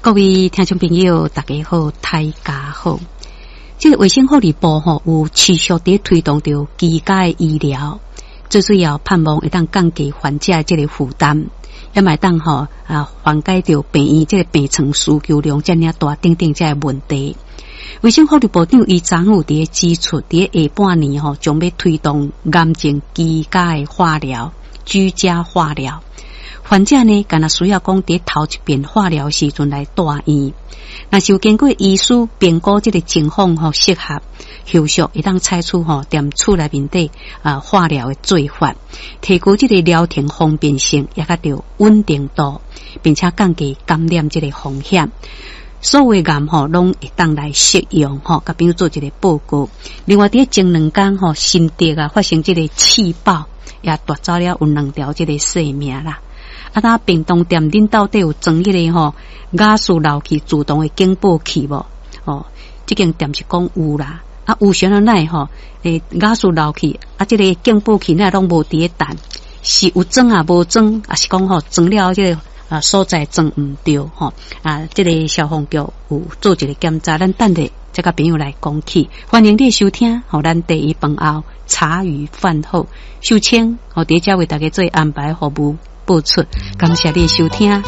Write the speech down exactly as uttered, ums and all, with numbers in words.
各位聽眾朋友，大家好，大家好。這個衛生福利部吼有持續佇推動著居家的醫療，最主要盼望會當降低患者這個負擔，也嘛會當吼啊緩解著病院這個病床需求量遮爾大等等這个問題。衛生福利部長伊昨昏有佇咧指出，佇咧下半年吼將欲推動癌症居家的化療、居家化療。患者呢，干焦需要講佇頭一遍化療時陣來住院，若是有經過醫師評估這個情況吼適合，後續會當採取吼踮厝內面底啊化療的做法，提高這個療程方便性，也較著穩定度，並且降低感染這個風險。所有癌吼攏會當來適用吼，共朋友做一個報告。另外，佇前兩工吼，新竹啊發生這個試爆，也奪走了有兩條這個性命啦。啊，那屏東店恁到底有裝彼個吼瓦斯漏氣自動的警報器無？哦，這間店是講有啦。啊，有啥物奈吼？欸，瓦斯漏氣啊，這個警報器哪攏無佇咧彈，是有裝啊無裝，抑是講吼裝了這個啊所在裝毋著吼？啊，這個消防局有做一個檢查，咱等下再共朋友來講起。歡迎你收聽，予咱茶餘飯後茶餘飯後秀清，予佇遮為大家做安排服務播出，感謝你收聽。